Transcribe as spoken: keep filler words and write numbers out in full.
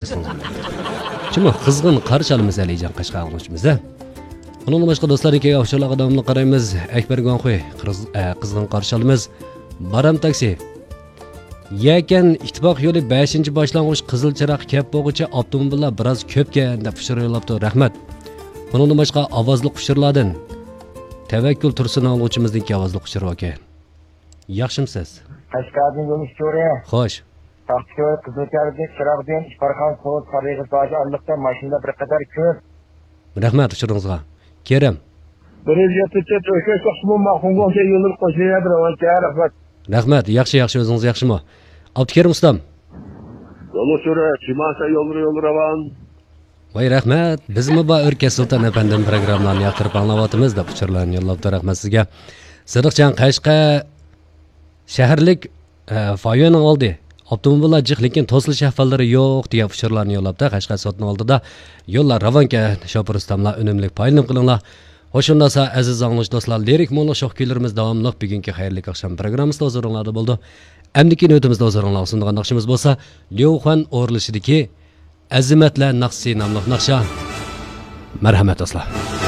شۇمۇ قىزغىن قارشى ئالىمىز ئەلىجان قەشقەر ئاڭلىغۇچىمىز ھە. ئۇنىڭدىن باشقا دوستلاردىن كەلگەن ئۇچۇرلارغا داۋاملىق قارايمىز. ئەكبەر گۇاڭخۇي قىز-، ئە، قىزغىن قارشى ئالىمىز. بارام تاكسى. يەكەن ئىتتىپاق يولى بەشىنچى باشلانغۇچ قىزىل چىراغ كەپ بولغۇچە ئاپتوموبىللار بىراز كۆپكەن دەپ ئۇچۇر يوللاپتۇ. رەھمەت. بۇنىڭدىن باشقا ئاۋازلىق ئۇچۇرلاردىن تەۋەككۈل تۇرسۇن ئاڭلىغۇچىمىزنىڭكى ئاۋازلىق ئۇچۇرى باركەن. ياخشىمۇسىز؟ قەشقەردىن يول ئۇچۇرى. خوش. تاختىكۆل، قىزىلكەردىن، چىراغدىن، ئىپارخان، سوۋۇت، قارىغىز باجى ئارىلىقتا ماشىنىلار بىر قەدەر كۆپ. رەھمەت ئۇچۇرىڭىزغا. كېرەم. بىر يۈز يەتتە تۆت ئۆچەك توقسىمۇن ماخۇنگوڭ يوللىرى قوشۇلۇۋەردى راۋانچە رەھمەت. رەھمەت، ياخشى، ياخشى، ئۆزىڭىز ياخشىمۇ؟ ئابدۇكېرىم ئۇستام. يول ئۇچۇرى، چىمەنسە يوللىرى يولى راۋان. ۋاي رەھمەت، بىزمۇ بار ئۆركەش سۇلتان ئەپەندىم پروگراممىلارنى ياقتۇرۇپ ئاڭلاۋاتىمىز دەپ ئۇچۇرلارنى يوللاپتۇ، رەھمەت سىزگە. سىدىقجان قەشقەر شەھەرلىك، ئە، فايۆنىڭ ئالدى ئاپتوموبىللار جىق، لېكىن توسۇلۇش ئەھۋاللىرى يوق دېگەن ئۇچۇرلارنى يوللاپتۇ. قەشقەر سوتىنىڭ ئالدىدا يوللار راۋانكەن، شوپۇر ئۇستاملار ئۈنۈملۈك پايدىلىنىپ قېلىڭلار. خوش ئۇنداقسا ئەزىز ئاڭلىغۇچى دوستلار، لىرىك مۇڭلۇق شوخ كۈيلىرىمىز داۋاملىق بۈگۈنكى خەيرلىك ئاخشام پروگراممىسىدا ھۇزۇرۇڭلاردا بولىدۇ. ئەمدىكى نۆۋىتىمىزدە ھۇزۇرۇڭلارغا سۇنىدىغان ناخشىمىز بولسا ليۇ خۇەن ئورۇنلىشىدىكى ئەزىمەتلەر ناخشىسى ناملىق ناخشا. مەرھەمەت دوستلار.